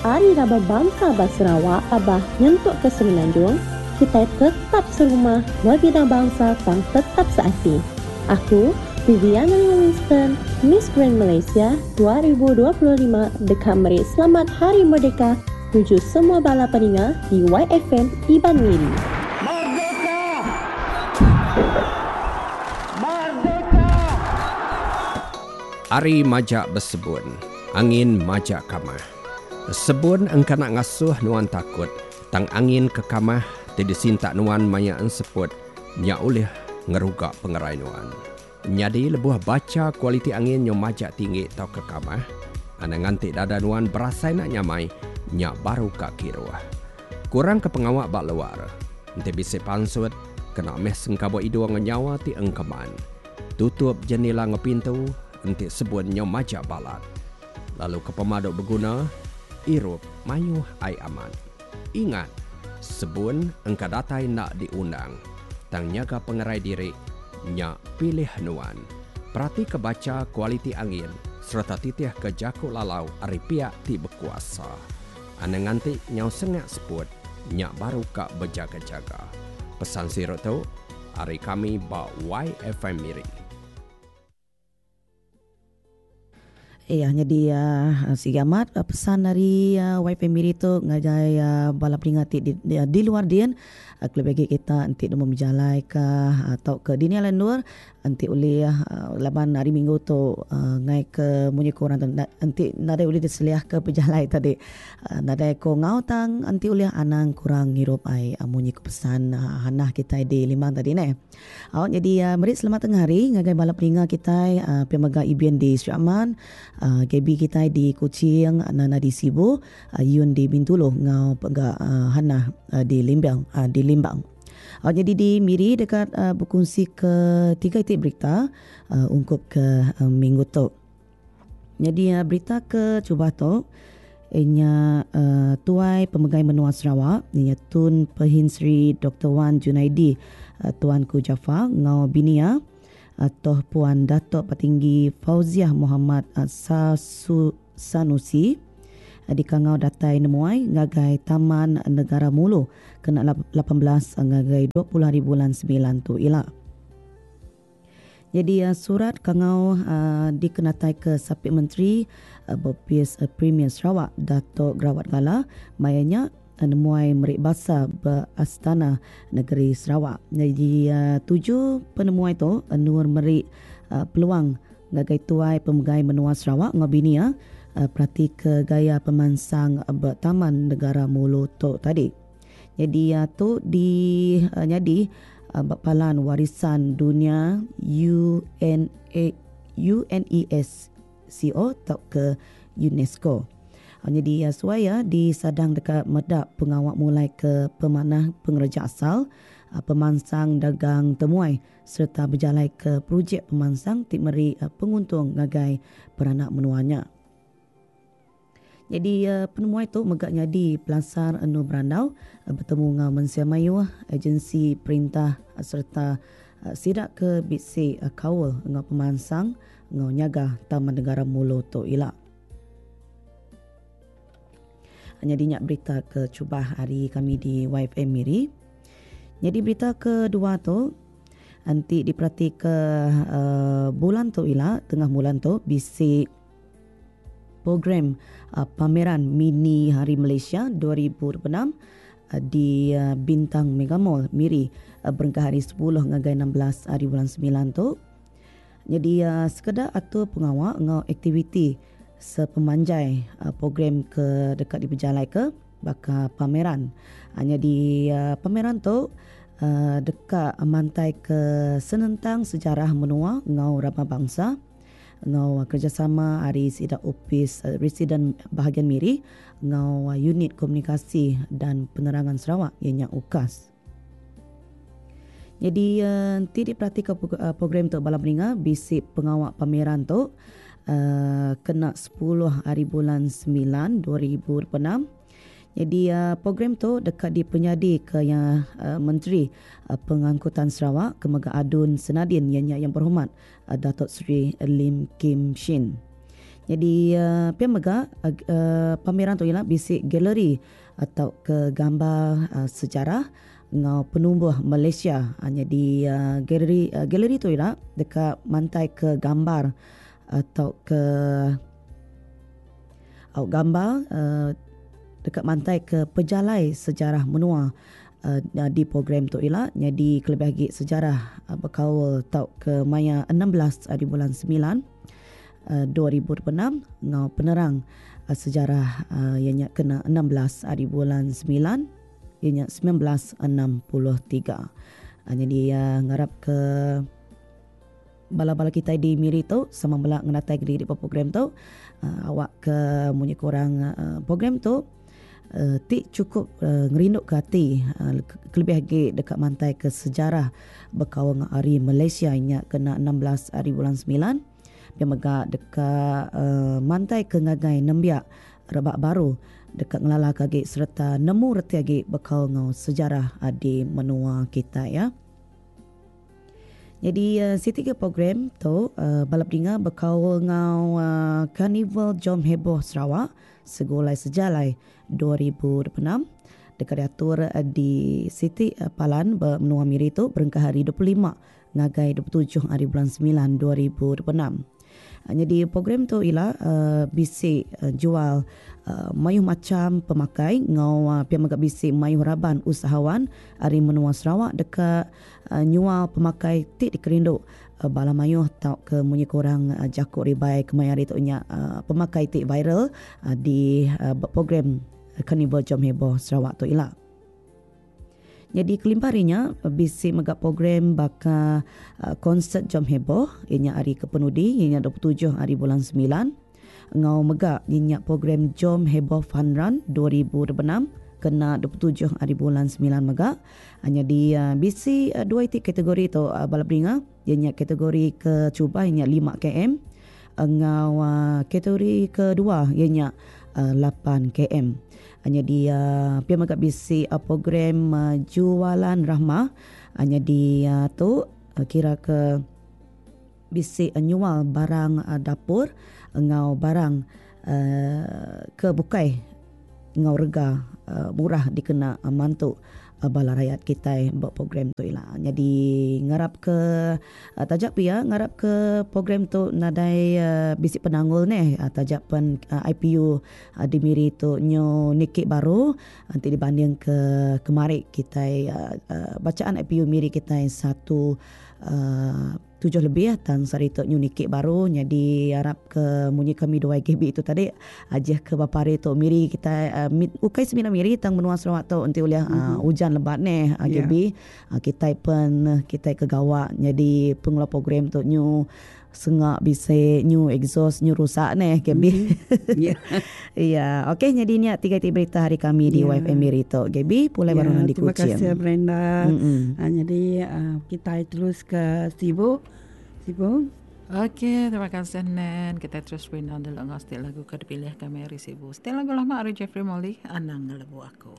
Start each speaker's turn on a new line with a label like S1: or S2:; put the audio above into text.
S1: Ari raban bansa ba Sarawak, Sabah nyentuk ke Semenanjung, kitai tetap serumah bebida bansa tang tetap seati. Aku, Viviana Lina Winston, Miss Grand Malaysia 2025 deka meri Selamat Hari Merdeka nuju semua bala peninga di YFM Iban Miri.
S2: Merdeka! Merdeka!
S3: Ari majak besebun, angin majak kamah. Sebun engka enda ngasuh nuan takut, tang angin ke kamah ti disintak nuan maya enseput nya ulih ngeruga pengerai nuan. Nyadi lebuh bacha kualiti angin nyau majak tinggi tauka kamah, anang nganti dada nuan berasai enda nyamai, nya baru ka kiruh. Kurangka pengawa ba luar. Enti bisi pansut, kena meh sengkabuk idung enggau nyawa ti engkeman. Tutup jenila enggau pintu enti sebun nyau majak balat. Lalu ke pemadu beguna, irup mayuh ai amat. Ingat, sebun engka datai enda diundang, tang nyaga pengerai diri nya pilih nuan. Peratika bacha kualiti angin sereta titihka jaku lalau ari piak ti bekuasa. Anang nganti nyau sengak seput nya baru ka bejaga-jaga. Pesan siru tu ari kami ba YFM Miri.
S4: Iya nyadi sigi amat pesan ari YP Miri tu ngagai bala peninga ti di luar din kelebih agi kita enti nemu bejalai ka tauka dini alai endur enti ulih laban hari minggu tu ngai ke munyi ku orang tu enti nadai ulih diseliah ke pejalai tadi nadai ko enggau tang enti ulih anang kurang ngirup ai munyi ku pesan hanah kitai di Limbang tadi neh. Au nyadi meri selamat tengah hari ngagai bala peninga kitai pia mega Ibin di Sri Aman, Gaby kitai di Kuching, Nana di Sibu, Yun di Bintulu enggau pega Hannah di Limbang di Limbang. Au nyadi di Miri deka bekunsi ke tiga iti berita ungkup ke minggu tu. Nyadi berita ke chubah tu inya Tuai Pemegai Menua Sarawak inya Tun Pehin Sri Doktor Wan Junaidi Tuanku Jaafar enggau bini iya Toh Puan Datuk Patinggi Fauziah Mohamad Sanusi dikangau datai nemuai ngagai Taman Negara Mulu kena 18 ngagai 20 hari bulan semilan tu ila. Nyadi surat kangau dikenataika Sapit Menteri Bopis Premier Sarawak Datuk Gerawat Gala maya nya nemuai meri basa ba Astana Negeri Sarawak. Nyadi tuju penemuai tu endur meri peluang ngagai tuai pemegai menua Sarawak enggau bini iya peratika gaya pemansang ba Taman Negara Mulu tu tadi. Nyadi tu di nyadi ba palan Warisan Dunia UNA UNESCO tauka UNESCO. Nyadi suai iya disadang deka meda pengawa mulai ke pemanah pengereja asal, pemansang dagang temuai sereta bejalaika projek pemansang ti meri penguntung ngagai peranak menua nya. Nyadi penemuai tu mega nyadi pelasar endur berandau betemu enggau mensia mayuh, agensi perintah sereta sida ke bisi kaul enggau pemansang enggau nyaga Taman Negara Mulu tu ila. Nyadi nya berita ke chubah ari kami di YFM Miri. Nyadi berita kedua tu enti diperatika bulan tu ila tengah bulan tu bisi Program Pameran Mini Hari Malaysia 2026 di Bintang Mega Mall, Miri berengkah hari sepuluh ngagai 16 hari bulan semilan tu. Nyadi sekeda atur pengawa enggau aktiviti sepemanjai program ke deka dipejalaika baka pameran. Nyadi pameran tu deka mantaika senentang sejarah menua enggau raban bansa. enggau kerejasama ari sida Opis Residen Bahagian Miri enggau Unit Komunikasi dan Penerangan Sarawak iya nya UKAS. Nyadi enti diperatika program tu bala peninga bisi pengawa pameran tu kena sepuluh hari bulan semilan 2026. Nyadi program tu deka dipenyadika iya Menteri Pengangkutan Sarawak ke mega ADUN Senadin iya nya Yang Berhormat Datuk Seri Lim Kim Shin. Nyadi pia mega pameran tu ila bisi galeri tauka gambar sejarah enggau penumbuh Malaysia. Nyadi galeri galeri tu ila deka mantaika gambar tauka au gambar deka mantaika pejalai sejarah menua di program tu ila nyadi kelebih agi sejarah bekaul tauka maya 16 ari bulan semilan. 2026 enggau penerang sejarah iya nya kena 16 ari bulan semilan iya nya 1963. Nyadi ngarap ke bala-bala kitai di Miri tu sama bela ngenatai ke diri ba program tu awak ke munyi ku orang program tu ti chukup ngerindu ke ati kelebih agi deka mantai ke sejarah bekaul enggau ari Malaysia nya kena 16 ari bulan semilan. Pia mega deka mantai ke ngagai nembiak rebak baru deka ngelalaka agi sereta nemu reti agi bekaul enggau sejarah di menua kitai ya. Nyadi siti ke program tu bala pedinga bekaul enggau Karnival Jom Heboh Sarawak Segulai Sejalai 2026 deka diatur di siti palan ba menua Miri tu berengkah hari 25 ngagai 27 hari bulan semilan 2026. Nyadi program tu ila bisi jual mayuh macham pemakai enggau pia mega bisi mayuh raban usahawan ari menua Sarawak deka nyual pemakai ti dikerindu bala mayuh tauka munyi ku orang jaku ribai kemaya hari tu nya pemakai ti viral di program Karnival Jom Heboh Sarawak tu ila. Nyadi kelimpah ari nya, bisi mega program baka konsert Jom Heboh iya nya hari ke penudi iya nya 27 hari bulan semilan enggau mega iya nya program Jom Heboh Fun Run 2026 kena 27 hari bulan semilan mega. Nyadi bisi dua iti kategori tu bala beringa iya nya kategori ke terubah iya nya 5 km enggau kategori kedua iya nya 8 km. Nyadi pia mega bisi program Jualan Rahmah nyadi tu kira ke bisi nyual barang dapur enggau barang ke bukai enggau rega murah dikena mantu bala rayat kitai ba program tu ila. Nyadi ngarap ke taja pia ngarap ke program tu nadai bisi penanggul neh taja pen IPU Di Miri tu nyu niki baru enti dibanding ke kemari kitai bacaan IPU Miri kitai satu tujuh lebih tang sehari tu nyu niki baru nyadi arap ke munyi kami dua YKB tu tadi ajih ke bapa hari tu Miri kitai ukai semina Miri tang menua Sarawak tu enti ulih ujan lebat neh YKB kitai pen kitai ke gawa nyadi pengeluar program tu nyu Senga bisi nyu exhaust nyu rusak neh Gaby. Iya. Okey nyadi nya tiga iti berita hari kami di yeah. YFM Miri tu. Gaby pulai yeah, baru nang di
S5: Kuching.
S4: Terima
S5: kasih Brenda. Mm-hmm. Jadi kita terus ke Sibu. Sibu.
S6: Okey, terima kasih Nen. Kita terus berindang dulu ngau setiap lagu ke dipilih kami hari Sibu. Setiap lagu lama hari Jeffrey Molly, Anang Ngelebu Aku.